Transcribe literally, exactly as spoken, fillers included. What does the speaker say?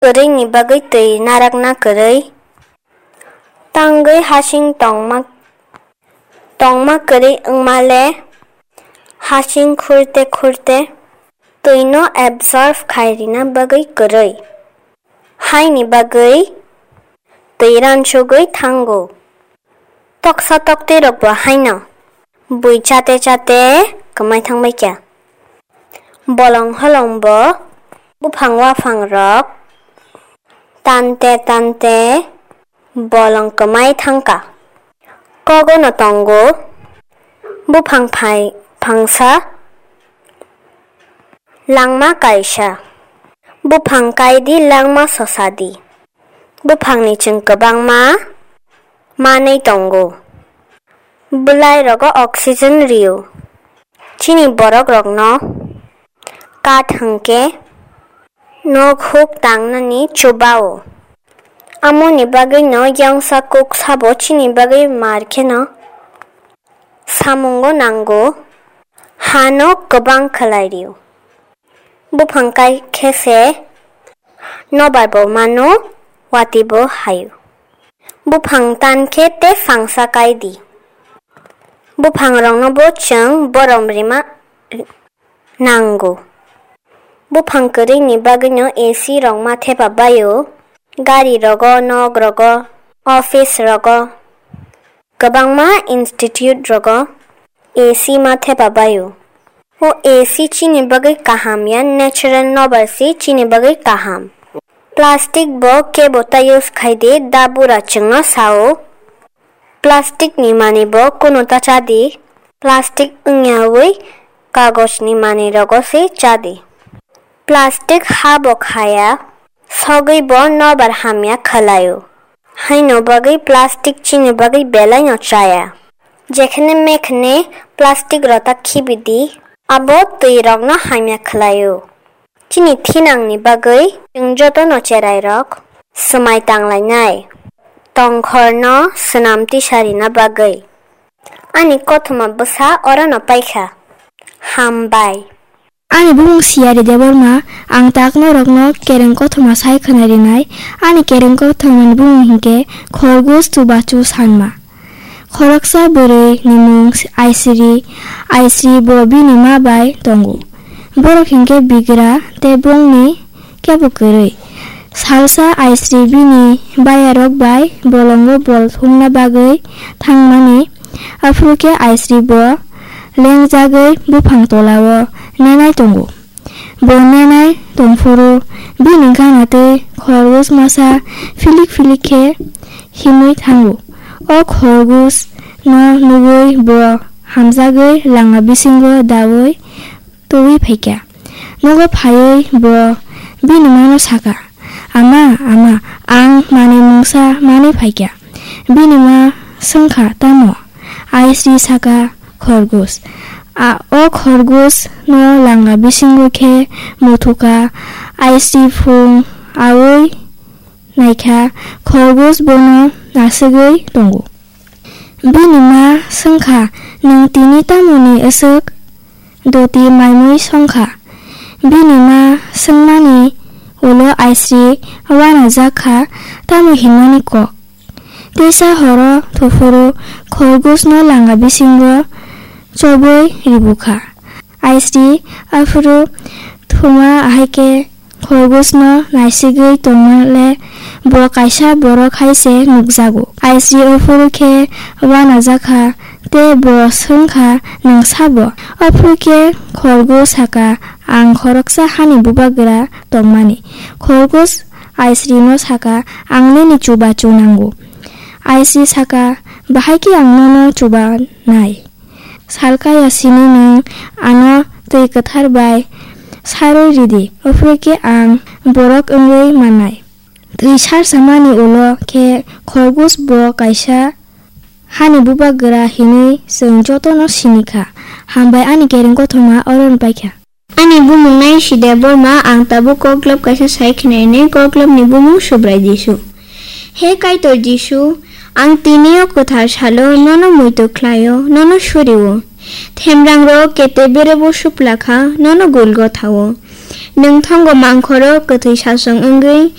kwrwini bagwi twi narakna kwrwi. Tangwi hasing tongma, tongma kwrwi wngma le hasing khurte khurte twino absorb khai rina bagwi kwrwi. Haini bagwi twi ransugwi thango. Toksa tokti rok bo haino bui chate chate kwmai thangbai kha. Bolong holong bo buphang waphang rok tante tante bolong kwmai thangkha. Kogono tongo buphang phai phangsa langma kaisa. Buphang kaidi langma sosadi. Buphangni chwng kwbangma manwi tongo. Bwlai rogo oxygen rio. Chini borok rokno kath hwnkhe nok huk tangnani chubao. Amoni bagwino yangsa kuk sabo chini bagwi mar kheno samungo nango, hano kwbang khlai rio. Buphang kai khe se nobar bo mano, watwi bo haio. Buphang tan khe tei phangsa kai di. Buphang rokno bo chwng borom rima nango. Buphang kwrwini bagwino A C rok ma thepa baio, gari rogo, nok rogo, office rogo, kwbangma institute rogo A C ma thepa baio. O A C chini bagwi kaham ya, natural nobar se chini bagwi kaham. Plastic bo kebo ta use khai di, da bura chwngno sao. Plastic ni manwi bo kunu ta cha di. Plastic wngyawi kagoj ni manwi rogo se cha di. Plastic ha bo khaya, sogwi bo nobar hamya khwlaio. Haino bagwi plastic chini bagwi belai no chaya. Jekhne mekhne plastic rok ta khibi di, abo twi rokno hamya khwlaio. Chini thinangni bagwi chwng jotono cherai rok swmai tanglainai, tongkhorno swnam tisarina bagwi. Ani kothoma bwsa orono paikha. Hambai. Ani bumung Siyari Debbarma, ang tak norokno kereng kothoma sai khwnarinai. Ani kereng kothomani bumung hinkhe Khorgos Chubachu Sanma. Khoroksa bwrwi ni mung Aisri, Aisri bo bini ma bai tongo. Borok hinkhe bigra tei bongni kebo kwrwi. Salsa Aisri bini bayarok bai bolongo bol thumna bagwi thangmani, aphuru khe Aisri bo lengjagwi buphang tolao nenai tongo. Bo nenai tongphuru bini gana tei khorgos masa philik philik khe himwi thango. O khorgos no nugwi bo hamjagwi langa bisingo daui twiwi phaikha. Nogo phaiwi bo bini mano sakha, "Ama, ama, ang manwi mungsa manwi phaikha." Bini ma swngkha, "Tamo?" Aisri sakha, "Khorgos." A, o khorgos no langa bisingo khe muthukha. Aisri phung aui naikha, khorgos bono nasugwi tongo. Bini ma swngkha, "Nwng tini tamoni aswk doti maimui songkha?" Bini ma swngmani ulo Aisri uanajak kha, tamo hinmani kok. Teisa horo thuphuru khorgosno langa bisingo chobwi ribukha. Aisri aphuru thuma ahaikhe khorgosno naisigwi tongmale bo kaisa borok hai se nukjago. Aisri aphuru khe uanajakha tei bo swngkha, "Nwng sabo?" Aphuru khe khorgos sakha, "Ang khoroksa hani bubagra tongmani." Khorgos Aisrino sakha, "Ang nini chubachu nango." Aisri sakha, "Bahai khe ang nono chubanai? Salkaya sini nwng ano twi kwthar bai sarwi ridi, aphuru khe ang borok wngwi mannai." Twi sarsamani ulo khe khorgos bo kaisa hani bubagra hinwi chwng jotono sini kha. Hambai ani kereng kothoma orono paikha. Ani bumung Naisida Borma, ang tabuk koklop kaisa sai khnainai, koklopni bumung Subrai Jisu. He Kaitor Jisu, ang tini o kwthar salo nono muitu khlaio, nono surio. Themrangrok kete berebo suplakha, nono gulgo thao. Nwng thongo mangkhoro kwthwi sasong wngwi,